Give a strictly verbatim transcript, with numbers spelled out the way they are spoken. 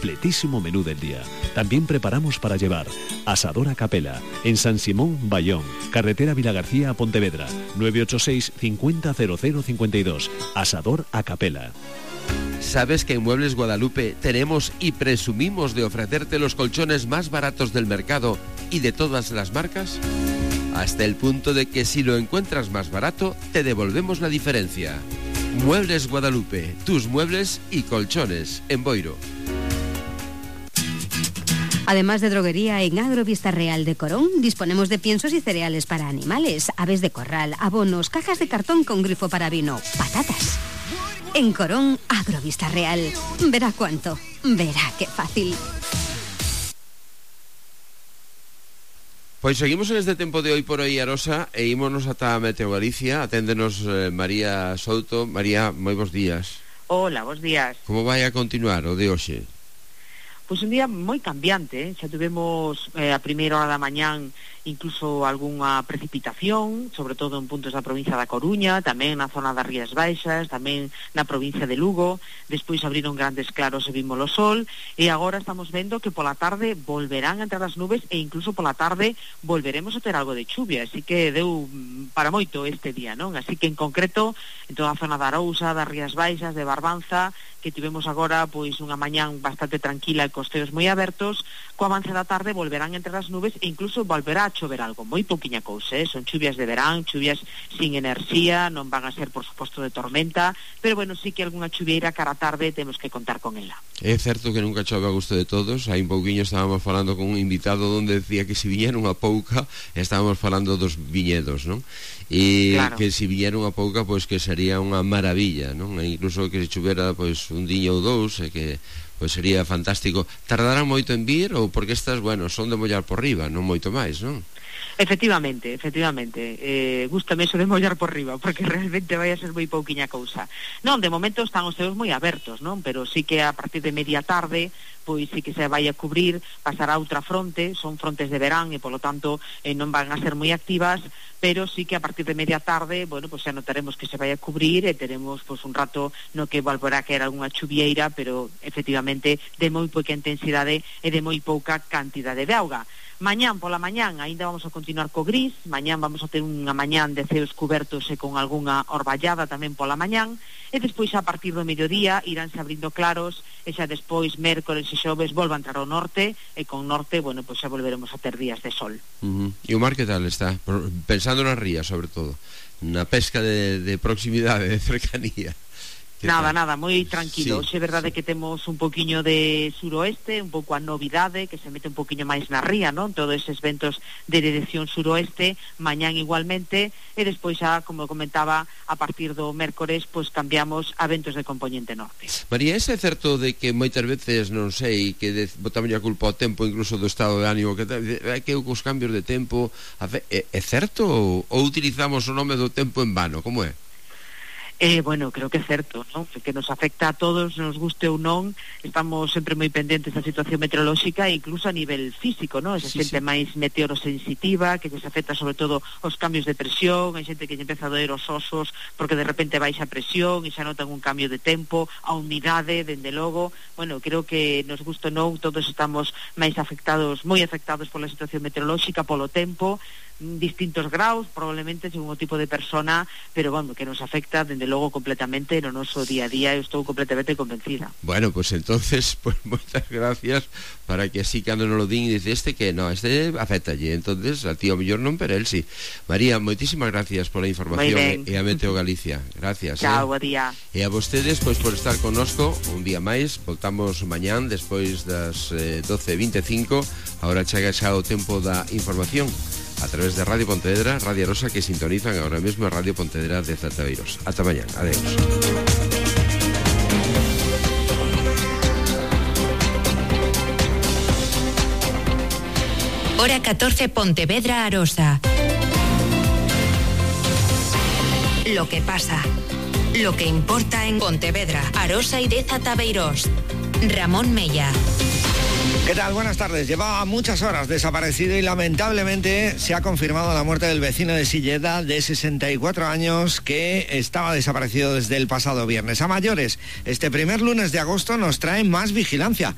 completísimo menú del día. También preparamos para llevar. Asador a Capela, en San Simón, Bayón, carretera Vilagarcía a Pontevedra, nueve ocho seis, cincuenta, cero cero cincuenta y dos. Asador a Capela. ¿Sabes que en Muebles Guadalupe tenemos y presumimos de ofrecerte los colchones más baratos del mercado y de todas las marcas? Hasta el punto de que si lo encuentras más barato, te devolvemos la diferencia. Muebles Guadalupe, tus muebles y colchones, en Boiro. Además de droguería, en Agrovista Real de Corón disponemos de piensos y cereales para animales, aves de corral, abonos, cajas de cartón con grifo para vino, patatas. En Corón, Agrovista Real. Verá cuánto, verá qué fácil. Pois seguimos en este tempo de hoy por hoy, Arosa, e ímonos ata Meteo Galicia. Aténdenos eh, María Souto. María, moi bons días. Hola, bons días. Como vai a continuar o de hoxe? Pois un día moi cambiante, eh? Xa tivemos eh, a primeira hora da mañán incluso algunha precipitación, sobre todo en puntos da provincia da Coruña, tamén na zona das Rías Baixas, tamén na provincia de Lugo. Despois abriron grandes claros e vimos o sol, e agora estamos vendo que pola tarde volverán a entrar as nubes e incluso pola tarde volveremos a ter algo de chuvia, así que deu para moito este día, non? Así que en concreto, en toda a zona da Arousa, das Rías Baixas, de Barbanza, que tivemos agora pois unha mañán bastante tranquila e costeos moi abertos, co avance da tarde volverán a entrar as nubes e incluso volverá a chover algo, moi pouquiña cousa, eh? Son chuvias de verán, chuvias sin enerxía, non van a ser por suposto de tormenta, pero bueno, sí que algunha chuvieira cara a tarde temos que contar con ela. É certo que nunca chove a gusto de todos. Hai un pouquiño estábamos falando con un invitado onde decía que se viñera unha pouca, estábamos falando dos viñedos, non? E claro, que se viñera unha pouca, pois que sería unha maravilla, non? E incluso que se chuvera pois un diño ou dous, e que pois sería fantástico. Tardarán moito en vir, ou porque estas, bueno, son de mollar por riba, non moito máis, non? Efectivamente, efectivamente, eh, gústame eso de mollar por riba, porque realmente vai a ser moi pouquiña cousa. Non, de momento están os ceos moi abertos, non? Pero sí que a partir de media tarde, pois sí que se vai a cubrir, pasará outra fronte, son frontes de verán e polo tanto eh, non van a ser moi activas, pero sí que a partir de media tarde, bueno, pois xa notaremos que se vai a cubrir e teremos pois un rato no que volverá a caer algunha chuvieira, pero efectivamente de moi pouca intensidade e de moi pouca cantidade de auga. Mañán pola mañán aínda vamos a continuar co gris, mañán vamos a ter unha mañán de ceos cubertos e con algunha orballada tamén pola mañán, e despois a partir do mediodía iránse abrindo claros, e xa despois mércores e xoves volva a entrar ao norte, e con norte, bueno, pois xa volveremos a ter días de sol. Uh-huh. E o mar que tal está? Pensando nas rías, sobre todo, na pesca de, de proximidade, de cercanía. Nada, nada, moi tranquilo. Sí. É verdade que temos un poquiño de suroeste, un pouco a novidade, que se mete un poquiño máis na ría, non? Todos eses ventos de dirección suroeste, mañán igualmente, e despois xa, como comentaba, a partir do mércores, pois cambiamos a ventos de componente norte. María, é certo de que moitas veces, non sei, que de, botamos a culpa ao tempo, incluso do estado de ánimo, que é que os cambios de tempo, é, é certo ou, ou utilizamos o nome do tempo en vano, como é? Eh, bueno, creo que é certo, non? Que nos afecta a todos, nos guste ou non, estamos sempre moi pendentes da situación meteorolóxica e incluso a nivel físico, non? Esa sí, xente sí. máis meteorosensitiva, que se afecta sobre todo os cambios de presión, hai xente que se empeza a doer os osos porque de repente baixa a presión e xa notan un cambio de tempo, a humidade, dende logo, bueno, creo que nos guste ou non, todos estamos máis afectados, moi afectados pola situación meteorolóxica, polo tempo, distintos graus, probablemente según o tipo de persona, pero bueno, que nos afecta dende logo completamente no noso día a día, eu estou completamente convencida. Bueno, pues entonces, pues moitas gracias, para que así cando non lo din dice este que no, este afectalle, entonces a ti o mellor non, pero el sí. María, moitísimas gracias pola información e a Meteo Galicia. Gracias. Chao, eh. bo día. E a vostedes, pois, por estar connosco un día máis. Voltamos mañán despois das eh, doce e vinte e cinco. Ahora chega xa o tempo da información a través de Radio Pontevedra, Radio Arosa, que sintonizan ahora mismo a Radio Pontevedra de Zataveiros. Ata mañán, adeus. Hora catorce, Pontevedra, Arosa. Lo que pasa, lo que importa en Pontevedra, Arosa y de Zataveiros. Ramón Mella. ¿Qué tal? Buenas tardes. Llevaba muchas horas desaparecido y lamentablemente se ha confirmado la muerte del vecino de Silleda de sesenta y cuatro años que estaba desaparecido desde el pasado viernes. A mayores, este primer lunes de agosto nos trae más vigilancia.